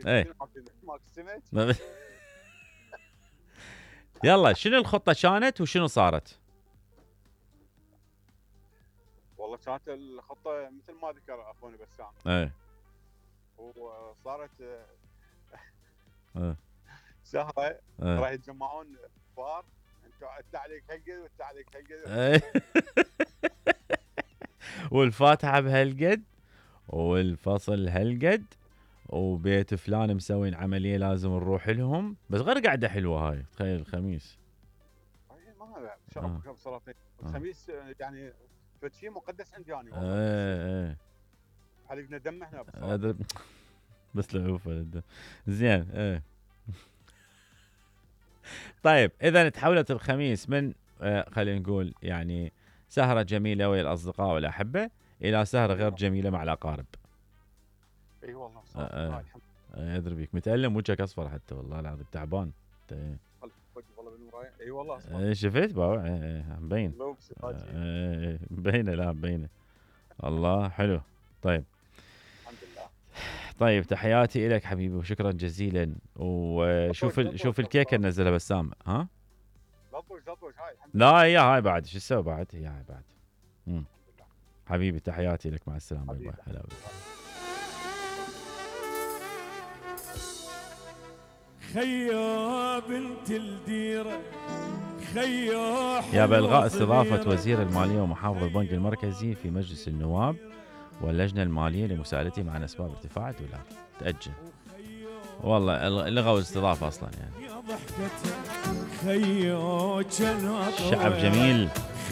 ايه يلا شنو الخطة كانت وشنو صارت؟ والله كانت الخطه مثل ما ذكر اخونا بسام. ايه وصارت ايه سهره ايه راح يتجمعون كبار، انت عليك هالقد وانت عليك هالقد. ايه والفاتحة بهالقد والفصل هالقد وبيت فلان مسوين عملية لازم نروح لهم، بس غير قاعدة حلوة هاي. تخيل الخميس ما شرب سلاطين الخميس يعني فشي مقدس عندي انا والله. ايه حلقنا دم احنا بس لعوفة زين. ايه طيب اذا تحولت الخميس من خلينا نقول يعني سهرة جميلة ويا الاصدقاء والاحبة الى سهرة غير جميلة مع الاقارب. اي والله صراحة ادري بيك متألم، وجهك اصفر حتى والله العظيم تعبان. والله بالمراية. اي والله اصفر. شفت بابا؟ مبين. مبينه. لا مبينه. الله حلو. طيب الحمد لله. طيب تحياتي لك حبيبي وشكرا جزيلا. وشوف الكيكه اللي نزلها بسام. ها زطوش هاي لا هي هاي بعد شو تسوي بعد؟ هي هاي بعد. حبيبي تحياتي لك، مع السلامه. باي هلا. خيا بنت الديره خيا يا بلغاء استضافة وزير المالية ومحافظ البنك المركزي في مجلس النواب واللجنة المالية لمساءلتهم عن أسباب ارتفاع الدولار. تأجل والله لغوا الاستضافة أصلا يعني. شعب جميل.